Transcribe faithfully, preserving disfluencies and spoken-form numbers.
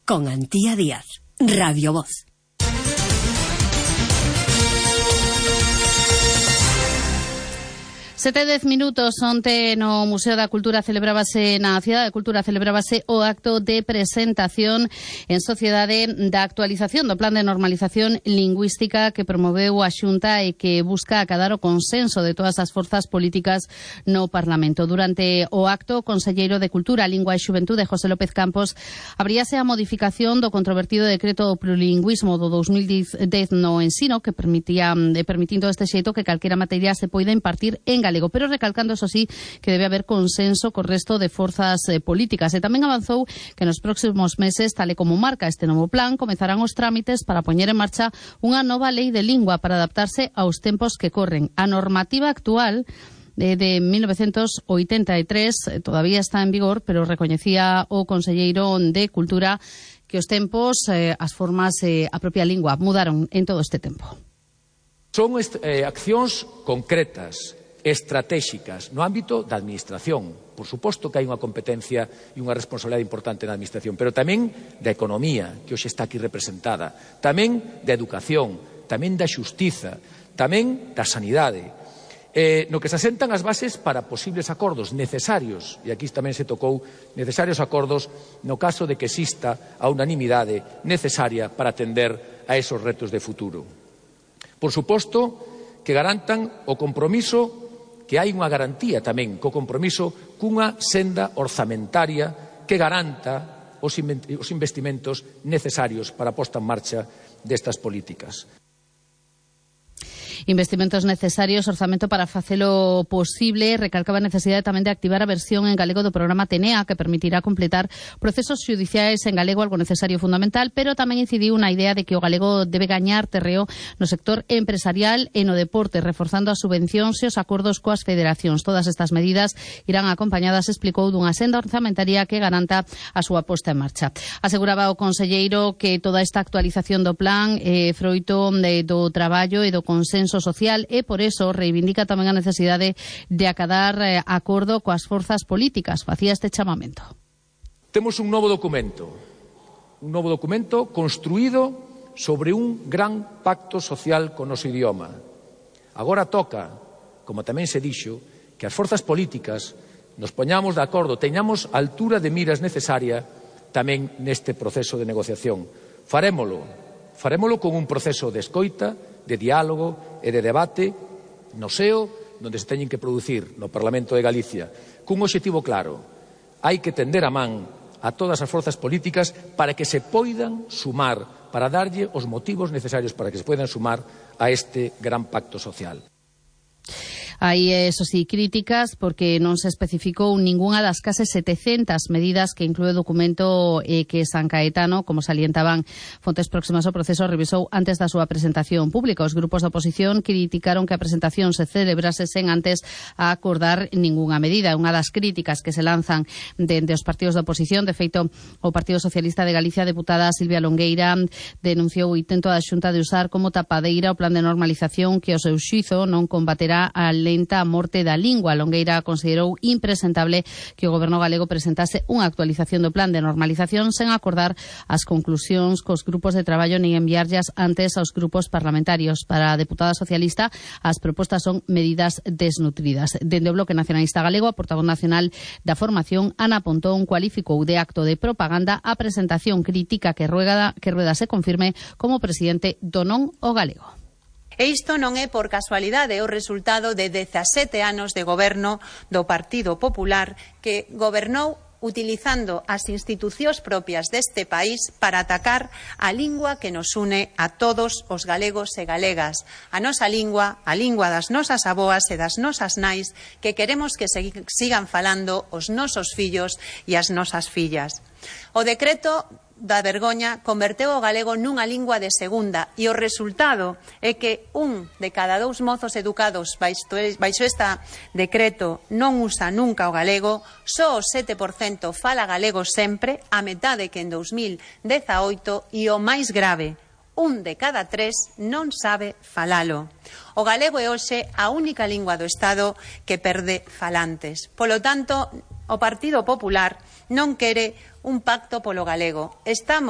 con Antía Díaz, Radio Voz. Sete dez minutos, onte no Museo da Cultura celebrábase, na Cidade da Cultura celebrábase o acto de presentación en sociedade da actualización do Plan de Normalización Lingüística que promoveu a Xunta e que busca acadar o consenso de todas as forzas políticas no Parlamento. Durante o acto, o conselleiro de Cultura, Lingua e Xuventude, José López Campos, abríase a modificación do controvertido decreto do plurilingüismo do dos mil dez no ensino que permitía, permitindo este xeito que calquera materia se poida impartir en galego, pero recalcando, eso sí, que debe haber consenso co resto de forzas eh, políticas. E tamén avanzou que nos próximos meses, tal e como marca este novo plan, comezarán os trámites para poñer en marcha unha nova lei de lingua para adaptarse aos tempos que corren. A normativa actual de, de mil novecentos oitenta e tres eh, todavía está en vigor, pero recoñecía o conselleiro de Cultura que os tempos, eh, as formas, eh, a propia lingua mudaron en todo este tempo. Son eh, accións concretas, estratéxicas no ámbito da administración. Por suposto que hai unha competencia e unha responsabilidade importante na administración, pero tamén da economía, que hoxe está aquí representada, tamén da educación, tamén da xustiza, tamén da sanidade, eh, no que se asentan as bases para posibles acordos necesarios, e aquí tamén se tocou necesarios acordos no caso de que exista a unanimidade necesaria para atender a esos retos de futuro. Por suposto que garantan o compromiso, que hai unha garantía tamén co compromiso cunha senda orzamentaria que garanta os investimentos necesarios para a posta en marcha destas políticas. Investimentos necesarios, orzamento para facelo posible, recalcaba a necesidade tamén de activar a versión en galego do programa Tenea, que permitirá completar procesos xudiciais en galego, algo necesario e fundamental, pero tamén incidiu na idea de que o galego debe gañar terreo no sector empresarial e no deporte, reforzando as subvencións e os acordos coas federacións. Todas estas medidas irán acompañadas, explicou, dunha senda orzamentaria que garanta a súa posta en marcha. Aseguraba o conselleiro que toda esta actualización do plan é eh, froito de, do traballo e do consenso social e por eso reivindica tamén a necesidade de acadar eh, acordo coas forzas políticas. Facía este chamamento. Temos un novo documento, un novo documento construído sobre un gran pacto social con o noso idioma. Agora toca, como tamén se dixo, que as forzas políticas nos poñamos de acordo, teñamos a altura de miras necesaria tamén neste proceso de negociación. Farémolo, farémolo con un proceso de escoita, de diálogo e de debate no seo onde se teñen que producir no Parlamento de Galicia cun obxectivo claro. Hai que tender a man a todas as forzas políticas para que se poidan sumar, para darlle os motivos necesarios para que se poidan sumar a este gran pacto social. Hai, eso sí, críticas porque non se especificou ningunha das case setecentas medidas que inclúe o documento eh, que San Caetano, como salientaban fontes próximas ao proceso, revisou antes da súa presentación pública. Os grupos da oposición criticaron que a presentación se celebrase sen antes a acordar ningunha medida. Unha das críticas que se lanzan dende os partidos da oposición, de feito, o Partido Socialista de Galicia, a deputada Silvia Longueira, denunciou o intento da Xunta de usar como tapadeira o plan de normalización que o seu xuízo non combaterá a lenta a morte da lingua. Longueira considerou impresentable que o Goberno galego presentase unha actualización do plan de normalización sen acordar as conclusións cos grupos de traballo nin enviarllas antes aos grupos parlamentarios. Para a deputada socialista, as propostas son medidas desnutridas. Dende o Bloque Nacionalista Galego, a portavoz nacional da formación, Ana Pontón, cualificou de acto de propaganda a presentación crítica que Rueda, que Rueda se confirme como presidente do non o galego. E isto non é por casualidade o resultado de dezasete anos de goberno do Partido Popular, que gobernou utilizando as institucións propias deste país para atacar a lingua que nos une a todos os galegos e galegas, a nosa lingua, a lingua das nosas aboas e das nosas nais, que queremos que sigan falando os nosos fillos e as nosas fillas. O decreto da vergoña converteu o galego nunha lingua de segunda e o resultado é que un de cada dous mozos educados baixo este decreto non usa nunca o galego, só o sete por cento fala galego sempre, a metade que en dos mil dezaoito, e o máis grave, un de cada tres non sabe falalo. O galego é hoxe a única lingua do Estado que perde falantes. Polo tanto, o Partido Popular non quere un pacto polo galego. Estamos